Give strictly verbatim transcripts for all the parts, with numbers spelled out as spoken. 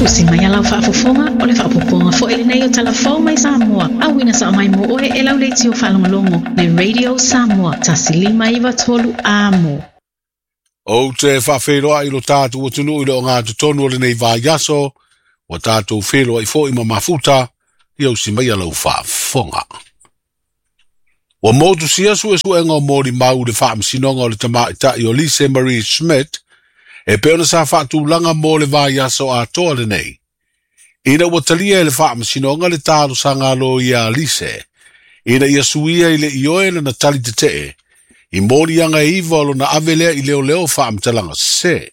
Usi mai alau faafofoga o le faapopoga foi lenei o talafou mai Samoa. Auina sa mai mo oe e lau leitio faalogologo le Radio Samoa tasi lima iva tolu amo. Ou te faafeiloai lo tatou atunuu i le ogatotonu o lenei vaiaso, ua tatou feiloai foi ma mafuta, ia usi mai alau faafofoga. Ua motusia suesuega o molimau i le faamasinoga o le tamaitai o Lise Marie Schmidt, e pei ona sa faatulaga mo le vaiaso atoa lenei. Ina ua talia e le faamasinoga le talosaga a loia a Lise, ina ia suia i le ioe lana tali tetee, i moliaga e iva o lona ave lea i leoleo faamatalaga sese.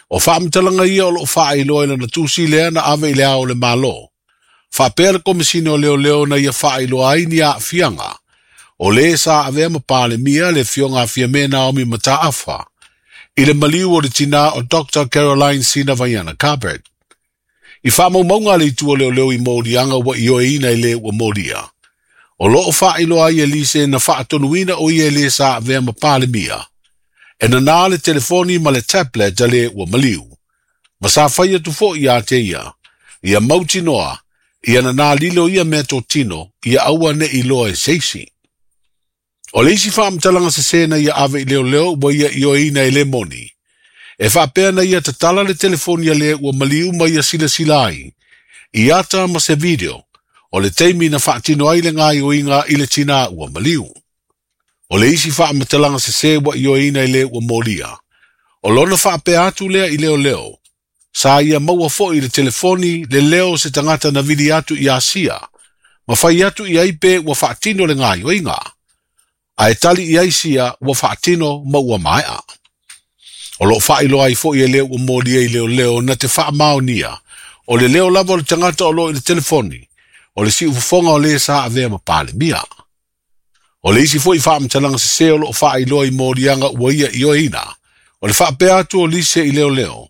O faamatalaga ia o loo faailoa i lana tusi lea na ave i le ao o le Malo. Faapea le Komesina o Leoleo na ia faailoa ai ni aafiaga, o le sa avea ma Palemia le afioga a Fiame Naomi Mataafa, i le maliu o le tinā o Doctor Caroline Sina Vaiana Carbert. I faamaumauga a le itu o leoleo i moliaga ua ioeina i le ua molia. O loo faailoa ai e Lise na faatonuina o ia e le sa avea ma Palemia. E nanā le telefoni ma le tablet a le ua maliu. Ma sa fai atu foi ia te ia. Ia mautinoa, ia nanā lilo ia mea totino, ia aua ne i loa e seisi. O le isi faamatalaga sese na ia ave i leoleo ua ia ioeina e le moni. E faapea na ia tatala le telefoni a le ua maliu ma ia silasila ai. I ata ma se video, o le taimi na faatino ai le gaioiga i le tinā ua maliu. O le isi faamatalaga sese ua ioeina i le ua molia. O lona faapea atu lea i leoleo. Sa ia maua foi le telefoni le leo se tagata na vili atu i Asia. Ma fai atu i ai pe ua faatino le gaioiga. Ae tali i ai sia ua faatino ma ua maea. O loo faailoa ai foi e le ua molia i leoleo na te faamaonia. O le leo lava o le tagata o loo i le telefoni. O le siufofoga o le sa avea ma Palemia. O le isi foi faamatalaga sese o loo faailoa i moliaga ua ia ioeina. O le faapea atu o Lise i leoleo.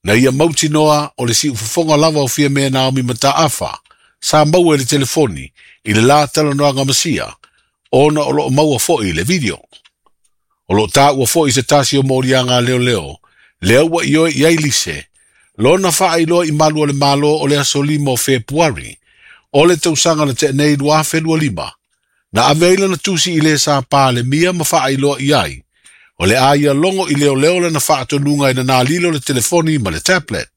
Na ia mautinoa o le siufofoga lava o Fiame Naomi Mataafa. Sa maua i le telefoni i le la talanoaga masia. Ona o loo maua foi le video. O loo taua foi se tasi o moliaga a leoleo. Lea ua ioe i ai Lise. Lona faailoa i malu o le Malo o le aso lima o Fepuari. O le tausaga na teenei lua afe lua lima. Na ave ai lana tusi i le sa Palemia ma faailoa i ai. O le a ia logo i leoleo lana faatonuga e nanā lilo le telefoni ma le tablet.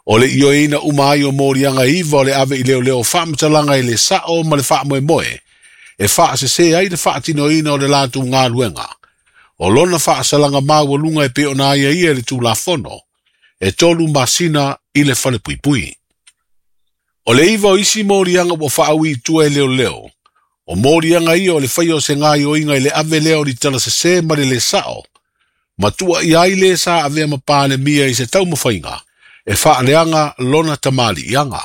O le ioeina uma ai o moliaga iva o le ave i leoleo faamatalaga i le sao ma le faamoemoe. E faasese ai le faatinoina o le latou galuega. O lona faasalaga maualuga e pei ona aiaia i le Tulafono. E tolu masina i le falepuipui. O le iva o isi moliaga ua faaui i tua e leoleo. O moliaga ia o le faia o se gaioiga i le ave lea o li talasese ma le le sao. Matua i ai le sa avea ma Palemia i se taumafaiga. E faaleaga lona tamaliiaga.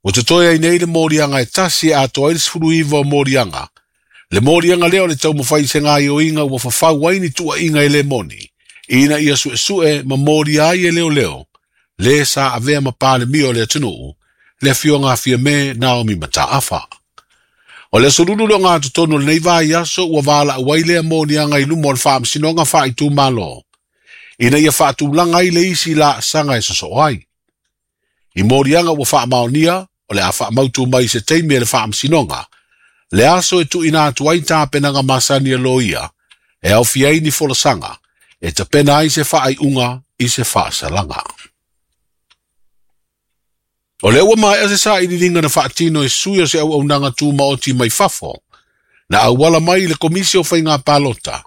Ua totoe ai nei le moliaga e tasi e atoa ai le sefulu iva o moliaga. Le moliaga lea o le taumafai i se gaioiga ua fafau ai ni tuuaiga e le moni. Ina ia suesue ma molia ai e leoleo. Le sa avea ma Palemia o le atunuu. Le afioga a Fiame Naomi Mataafa. O le aso lulu le ogatotonu o lenei vaiaso ua valaau ai lea moliaga i luma o le faamasinoga faaitumalo. Ina ia faatulaga ai le isi laasaga e sosoo ai. I moliaga ua faamaonia, o le a faamautu mai se taimi e le faamasinoga. Le aso e tuuina atu ai tapenaga masani a loia, e aofia ai ni folasaga, e tapena ai se faaiuga i se faasalaga. O le ua maea se sailiiliga na faatino e sui o se auaunaga tumaoti mai fafo, na auala mai i le Komisi o Faiga Palota,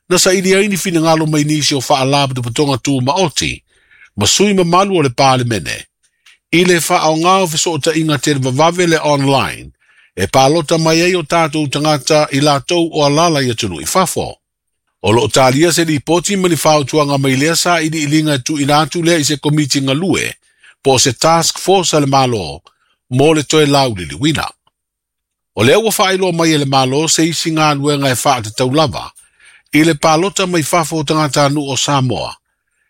na saili ai ni finagalo mai nisi o faalapotopotoga tumaoti, ma sui mamalu o le Palemene, i le faaoga o fesootaiga televavave le online, e palota mai ai o tatou tagata i latou o alala i atunuu i fafo. O loo talia se lipoti ma ni fautuaga mai lea sailiiliga e tuuina atu lea i se komiti galue, po o se task force a le Malo, mo le toe lauliliuina. O lea ua faailoa mai e le Malo se isi galuega e faatatau lava, i le palota mai fafo o tagatanuu o Samoa.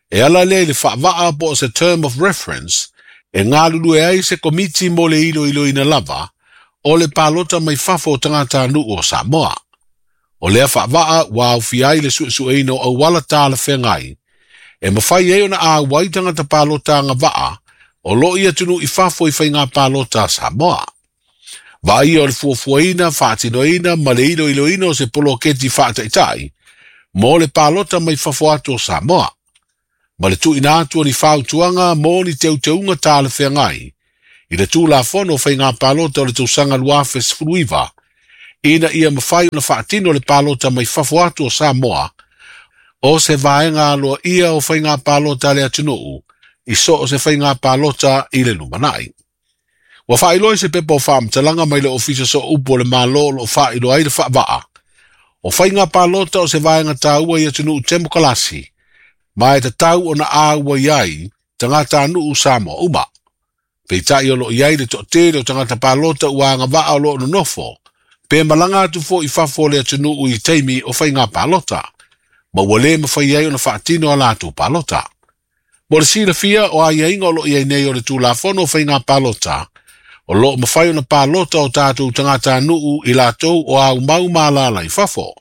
E ala lea i le faavaa po o se term of reference, e galulue ai se komiti mo le iloiloina lava, o le palota mai fafo o tagatanuu o Samoa. O lea faavaa ua aofia ai le suesueina o auala talafeagai, E mawhai ai ona āwai tangata pālota agava'a o loo i atunuu i fafo i faiga palota a Samoa. Vaaia o le fuafuaina, faatinoina ma le iloiloina o se poloketi faataitai mo le palota mai fafo atu o Samoa. Ma le tuuina atu o ni fautuaga mo ni teuteuga talafeagai i le Tulafono o Faiga Palota o le tausaga lua afe sefulu iva, ina ia mafai ona faatino le palota mai fafo atu o Samoa o se vaega aloaia o faiga palota a le atunuu i so o se faiga palota i le lumanai. Ua faailoa i se pepa o faamatalaga mai le Ofisa Sooupu o le Malo o loo faailoa ai le faavaa. O faiga palota o se vaega taua i atunuu temokalasi, ma e tatau ona auai ai tagatanuu Samoa uma. Peitai o loo i ai le toatele o tagata palota ua agavaa o loo nonofo, pe malaga atu foi i fafo o le atunuu i taimi o faiga palota, ma ua le mafai ai ona faatino a latou palota. Mo le silafia o aiaiga o loo i ai nei o le Tulafono o Faiga Palota, o loo mafai ona palota o tatou tagatanuu i latou o aumau ma alaala i fafo.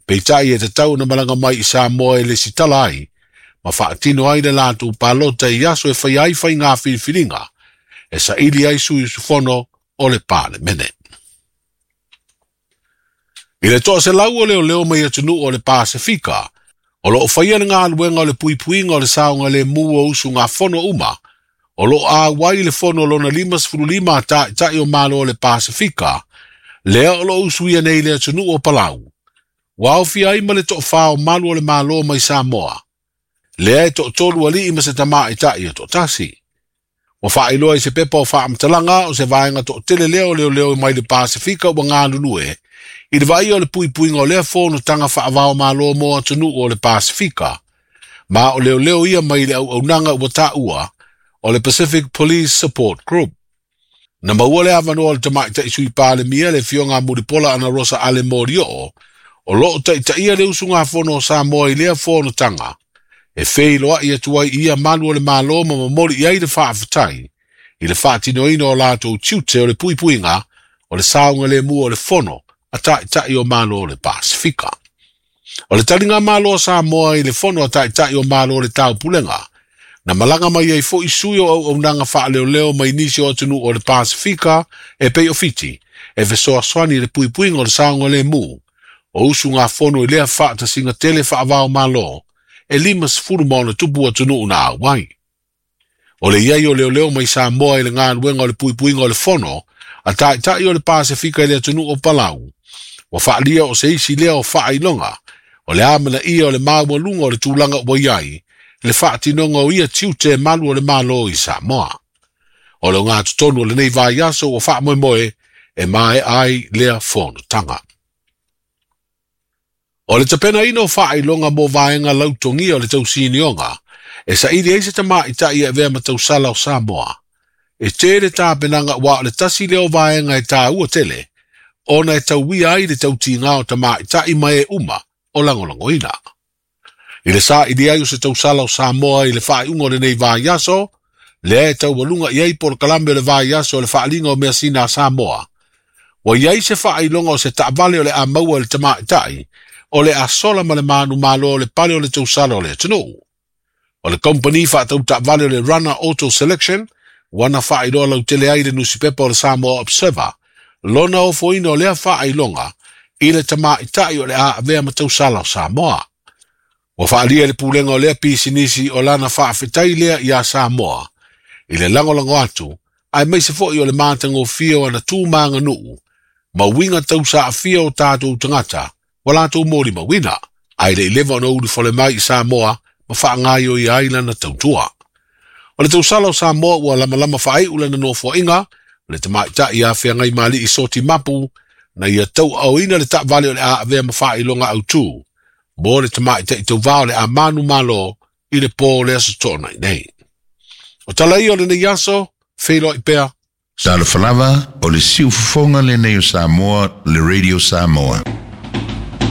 Peitai e tatau ona malaga mai i Samoa e lesitala ai, ma faatino ai le latou palota i aso e faia ai faiga filifiliga, e saili ai sui usufono o le Palemene. I le toaselau o leoleo mai atunuu o le Pasefika, o loo faia le galuega o le puipuiga o le saogalemu o usugafono uma, o loo auai le fono lona lima sefulu lima a taitai o Malo o le Pasefika, lea o loo usuia nei le atunuu o Palau. Ua aofia ai ma le toafā o malu o le Malo mai Samoa, lea e toatolu alii ma se tamaitai e toatasi. Ua faailoa i se pepa o faamatalaga o se vaega toatele lea o leoleo mai le Pasefika ua galulue, i le vaaia o le puipuiga o lea fonotaga faava-o-Malo mo atunuu o le Pasefika, ma o leoleo ia mai le auaunaga ua taua o le Pacific Police Support Group. Na maua le avanoa o le tamaitai sui Palemia le afioga Mulipola Anarosa Ale Molioo, o loo taitaia le usugafono o Samoa i lea fonotaga, e feiloai atu ai i ia malu o le Malo ma momoli i ai le faafetai i le faatinoina o latou tiute o le puipuiga o le saogalemu o le fono a taitai o Malo o le Pasefika. O le taliga malo a Samoa i le fono a taitai o Malo o le Taupulega, na malaga mai ai foi sui o auaunaga faaleoleo mai nisi o atunuu o le Pasefika e pei o Fiti, e fesoasoani i le puipuiga o le saogalemu o usugafono i lea faatasiga tele faava-o-Malo e lima sefulu ma ona tupu atunuu na auai. O le iai o leoleo mai Samoa i le galuega o le puipuiga o le fono a taitai o le Pasefika i le atunuu o Palau, ua faalia o se isi lea o faailoga o le amanaia o le maualuga o le tulaga ua i ai le faatinoga o ia tiute malu o le Malo i Samoa. O le ogatotonu o lenei vaiaso ua faamoemoe e maea ai lea fonotaga. O le tapenaina o faailoga mo vaega lautogia o le tausinioga, e saili ai se tamaitai e avea ma tausala o Samoa. E tele tapenaga ua o le tasi lea o vaega e taua tele, ona e tauia ai le tautiga o tamaitai ma e uma o lagolagoina. I le saili ai o se tausala o Samoa i le faaiuga o lenei vaiaso, lea e taualuga i ai polokalame o le vaiaso o le faaliga o measina a Samoa. Ua i ai se faailoga o se taavale o le a maua i le tamaitai, o le a sola ma le manumalo o le pale o le tausala o le atunuu. O le kompani faatau taavale o le Runner Auto Selection, ua na faailoa lautele ai le nusipepa o le Samoa Observer, lona ofoina o lea faailoga i le tamaitai o le a avea ma tausala o Samoa. Ua faalia le pulega o lea pisinisi o lana faafetai lea ia Samoa, i le lagolago atu, aemaise foi o le matagofie o ana tu maganuu, ma uiga tausaafia o tatou tagata, ua latou molimauina, ae le i leva ona ulufale mai i Samoa ma faagaioia ai lana tautua. O le tausala o Samoa ua lamalama faaiu lana nofoaiga, le tamaitai a Feagaimali'i Soti Mapu, na ia tauaaoina le taavale o le a avea ma faailoga autu, mo le tamaitai tauvā o le a manumalo i le pō o le aso Toonai nei. O tala ia o lenei aso, feiloai pea. Talofa lava, o le siufofoga lenei o Samoa, le Radio Samoa.